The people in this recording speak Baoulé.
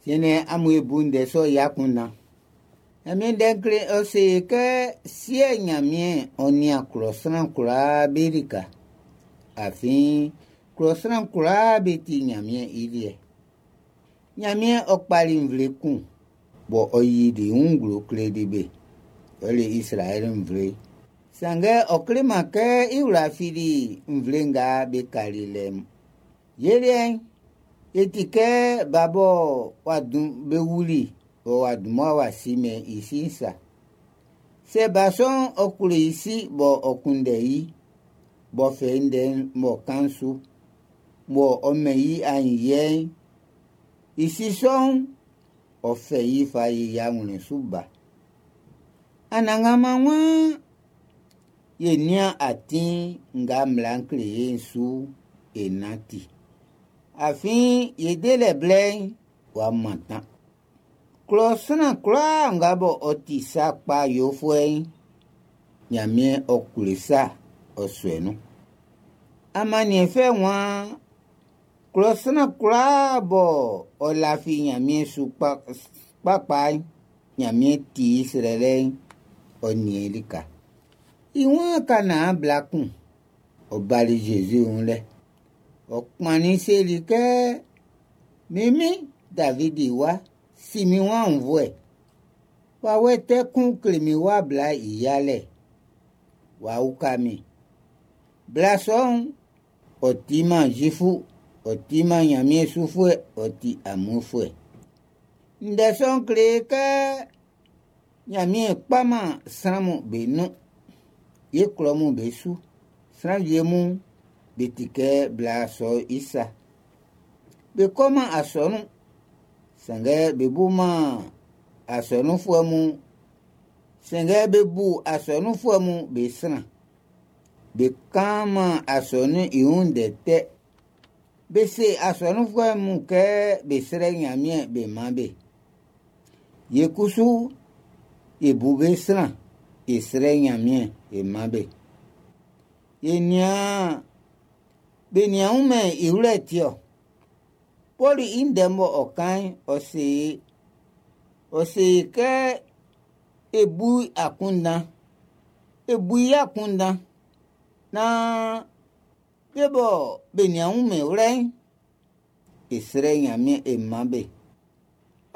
Siɛn'n, amun e bu ndɛ sɔ'n i akunndan. Ɲanmiɛn Ndɛ'n kle ɔ se kɛ Siɛ Ɲanmiɛn ɔ nian klɔ sran kwlaa be lika. Afin klɔ sran kwlaa be ti Ɲanmiɛn i liɛ. Ɲanmiɛn ɔ kpali nvle kun bɔ ɔ yili i wun nglo kleli be. Ɔ le Izraɛl nvle. Sanngɛ ɔ kleman kɛ i wla fili nvle nga be kali lɛ'n. Ye liɛ'n, e ti kɛ ba bɔ w'a dun be wuli bɔ w'a dunman w'a simɛn i si'n sa. Sɛ ba sɔ'n ɔ klo i si bɔ ɔ kunndɛ i, b'ɔ fɛ i ndɛ'n m'ɔ kan su, bɔ ɔ mɛn i aɲinyiɛ'n, i si sɔ'n, ɔ fɛ i fa yi i awlɛn su ba. Anannganman waan ye nian atin nga mmla'n kle e'n su e nanti. Afin ye delɛ blɛ'n w'a mantan. Klɔ sran kwlaa nga bɔ ɔ ti sa kpa yofuɛ'n, Ɲanmiɛn ɔ klo sa ɔ suɛ nun. Amanniɛnfɛ waan klɔ sran kwlaa bɔ ɔ lafi Ɲanmiɛn su kpakpa'n, Ɲanmiɛn ti i srɛlɛ'n, ɔ nian i lika. I waan ka naan bla kun, ɔ bali Zezi wun lɛ. Ɔ kpannin seli kɛ, Min min, Davidi wa, si min wun aunnvuɛ. Wawɛ tɛ kun kle min wa bla i yalɛ. W'a uka min. Bla sɔ'n, ɔ timan Zifu, ɔ timan Ɲanmiɛn sufuɛ, ɔ ti amuinfuɛ. Ndɛ sɔ'n kle kɛ Ɲanmiɛn kpaman sran'm be nun. Ye klɔ mun be su. Sran wie mun be ti kɛ bla sɔ'n i sa. Be kɔman asɔnun, sanngɛ be buman asɔnunfuɛ mun sanngɛ be bu asɔnunfuɛ mun be sran. Be kanman asɔnun'n i wun ndɛ tɛ. Be se asɔnunfuɛ mun kɛ be srɛ Ɲanmiɛn be man be. Ye kusu e bu be sran, e srɛ Ɲanmiɛn e man be. E nian be nian wunmɛn i wlɛ ti ɔ. Pɔlu i ndɛ mɔ ɔ kan'n, ɔ se kɛ e bu akunndan, e bu i akunndan naan be bɔ be nian wunmɛn wlɛ'n, e srɛ Ɲanmiɛn e man be.